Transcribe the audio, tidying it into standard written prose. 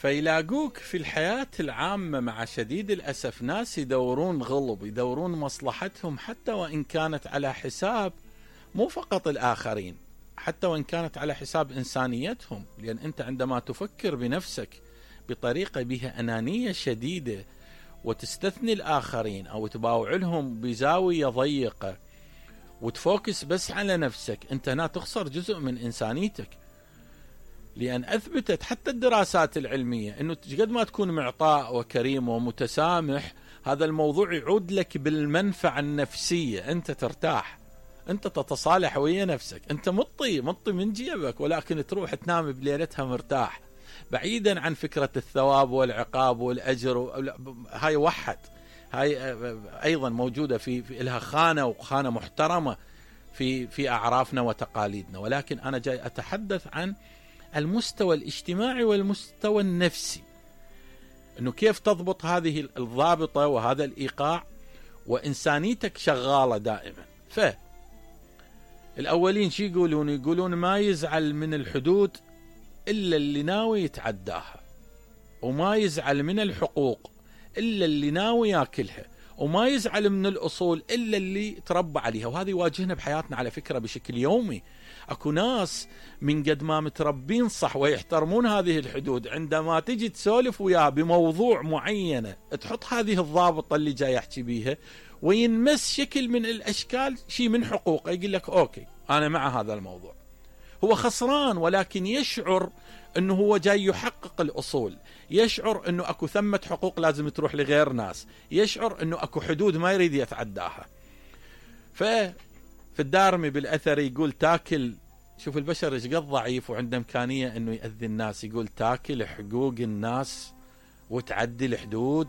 فيلاقوك في الحياة العامة مع شديد الأسف ناس يدورون غلب، يدورون مصلحتهم حتى وإن كانت على حساب مو فقط الآخرين، حتى وإن كانت على حساب إنسانيتهم. لأن أنت عندما تفكر بنفسك بطريقة بها أنانية شديدة وتستثني الآخرين أو تباوع لهم بزاوية ضيقة وتفوكس بس على نفسك، أنت هنا تخسر جزء من إنسانيتك. لأن أثبتت حتى الدراسات العلمية أنه قد ما تكون معطاء وكريم ومتسامح، هذا الموضوع يعود لك بالمنفعة النفسية، أنت ترتاح، أنت تتصالح ويا نفسك، أنت مطي من جيبك، ولكن تروح تنام بليلتها مرتاح، بعيدا عن فكرة الثواب والعقاب والأجر. هاي وحد، هاي أيضا موجودة في لها خانة وخانة محترمة في أعرافنا وتقاليدنا. ولكن أنا جاي أتحدث عن المستوى الاجتماعي والمستوى النفسي، أنه كيف تضبط هذه الضابطة وهذا الإيقاع وإنسانيتك شغالة دائما. فالأولين شي يقولون ما يزعل من الحدود إلا اللي ناوي يتعداها، وما يزعل من الحقوق إلا اللي ناوي ياكلها، وما يزعل من الأصول إلا اللي تربى عليها. وهذا يواجهنا بحياتنا على فكرة بشكل يومي. أكو ناس من قد ما متربين صح ويحترمون هذه الحدود، عندما تجي تسولف وياه بموضوع معينة تحط هذه الضابطة اللي جاي أحكي بيها وينمس شكل من الأشكال شيء من حقوقه، يقول لك أوكي أنا مع هذا الموضوع. هو خسران، ولكن يشعر أنه هو جاي يحقق الأصول، يشعر أنه أكو ثمة حقوق لازم تروح لغير ناس، يشعر أنه أكو حدود ما يريد يتعداها. في الدارمي بالأثر يقول تاكل، شوف البشر ايش قد ضعيف وعنده إمكانية أنه يأذي الناس، يقول تاكل حقوق الناس وتعدي الحدود.